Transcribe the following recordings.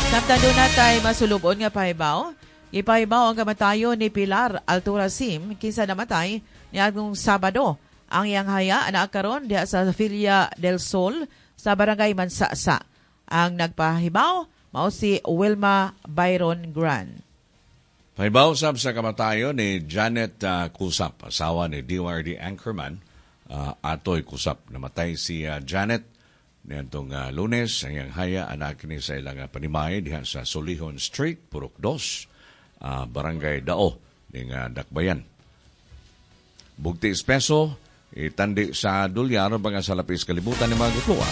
Samtang duna tay masulubon nga pahibaw, gipahibaw ang kamatayon ni Pilar Altura Sim, kinsa namatay niagong Sabado. Ang iyang haya naa karon diha sa Villa del Sol sa Barangay Mansasa. Ang nagpahibaw mao si Wilma Byron Grant. Pahibaw sab sa kamatayon ni Janet Kusap, asawa ni DYRD anchorman Atoy Kusap. Namatay si Janet niadtong Lunes. Ang iyang haya anaa kini sa ilang panimay diha sa Solihon Street, Purok 2, Barangay Dao ning Dakbayan. Bugti espeso, itandi sa dolyar mga sa lapis kalibutan ni mga gutloa.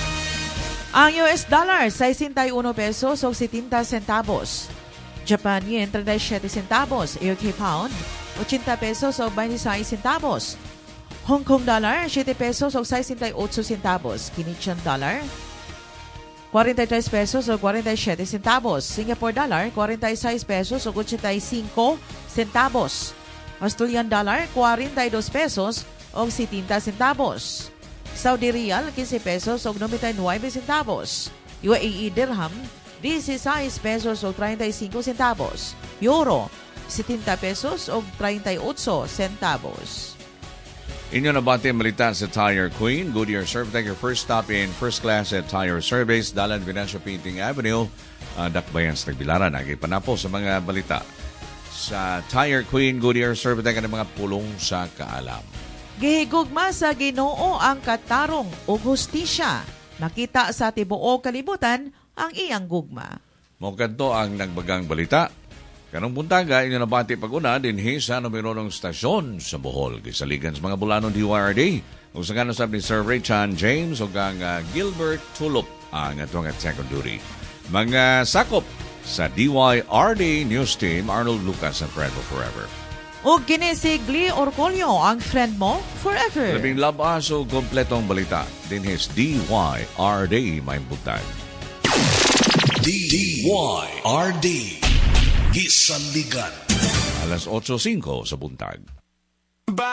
Ang US dollar, 61 pesos o 70 centavos. Japan yen, 37 centavos. UK pound, 80 pesos o 26 centavos. Hong Kong dollar, 7 pesos o 68 centavos. Canadian dollar, 43 pesos o 47 centavos. Singapore dollar, 46 pesos o 85 centavos. Australian dollar, 42 pesos o 70 centavos. Saudi Riyal, 15 pesos o 99 centavos. UAE Dirham, 16 pesos o 35 centavos. Euro, 70 pesos o 38 centavos. Inyo nabati ang balita sa Tire Queen. Goodyear Servitech, your first stop in first class at tire service. Dalan Venancio Painting Avenue, Dakbayan sa Tagbilaran. Nagipanapo sa mga balita sa Tire Queen, Goodyear Servitech, ang mga pulong sa kaalam. Gihigugma sa Ginoo ang katarong ug hustisya. Makita sa tibuok kalibutan ang iyang gugma. Mao kadto ang nagbagang balita. Karong buntaga, inyo nabati pag-una dinhi sa numero ng stasyon sa Bohol. Gisaligan sa mga bulanon DYRD. Ug sa ngalan sab ni Sir Richard James ug ang Gilbert Tulop ang atong at second duty. Mga sakop sa DYRD News Team, Arnold Lucas ang friend mo forever. Ug kini si Glee Orcolio, ang friend mo forever. Labing labas o kompletong balita dinhi sa DYRD, may buntag. DYRD. Gisaligan. Alas 8:05 sa buntag.